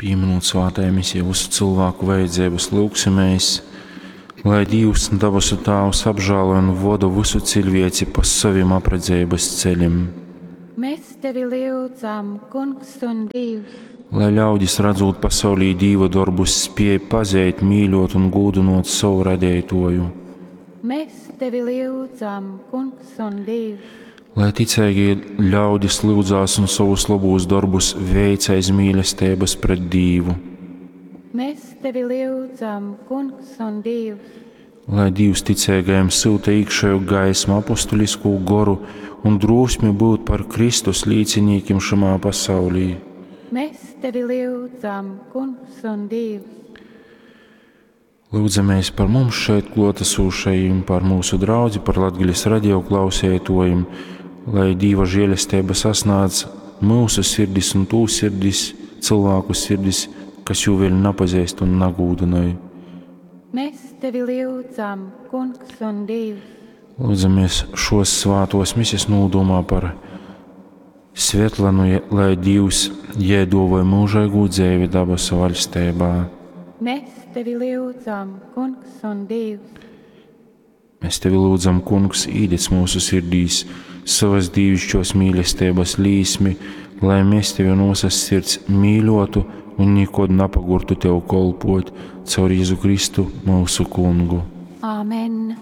Pīminūt svātajā misijā visu cilvēku vajadzības, lūgsimies, lai Dīvs, dabasu Tāvs, apžēlo un voda visu cilvēci pa savim apredzeibas ceļiem. Mēs tevi lyudzam, Kungs un Dievs. Lai ļaudis, redzot pasaulī Dīva dorbus, spēj pazeit, mīļot un gūdinot savu radītoju. Mēs tevi lyudzam, Kungs un Dievs. Lai ticīgie ļaudis lūdzās un savus labos darbus veic aiz mīlestības pret Dīvu. Mēs tevi lyudzam, Kungs un Dievs. Lai Dievs ticīgajiem sūta iekšējo gaismu, apostulisko goru un drosmi būt par Kristus līdzinīkiem šajā pasaulī. Mēs tevi lyudzam, Kungs un Dievs. Lūdzamies par mums šeit klātesošajiem, par mūsu draudzi, par Latgales radio klausētojiem, lai Dieva žēlastība sasniedz mūsu sirdis un tū sirdis, cilvēku sirdis, kas jū vēl nepazīst un nagūdināja. Mēs tevi lyudzam, Kungs un Dievs. Lūdzamies šos svātos mises nūdomā par Svetlanu, lai Dievs jēdovoja mūžīgu dzēvi dabasu vaļstībā. Mēs tevi lyudzam, Kungs un Dievs. Mēs tevi lūdzam, Kungs, īdec mūsu sirdīs savas dīvišķos mīlestības līsmi, lai mēs tevi no visas sirds mīļotu un nekad napagurtu tev kolpot caur Jēzu Kristu mūsu kungu. Āmen.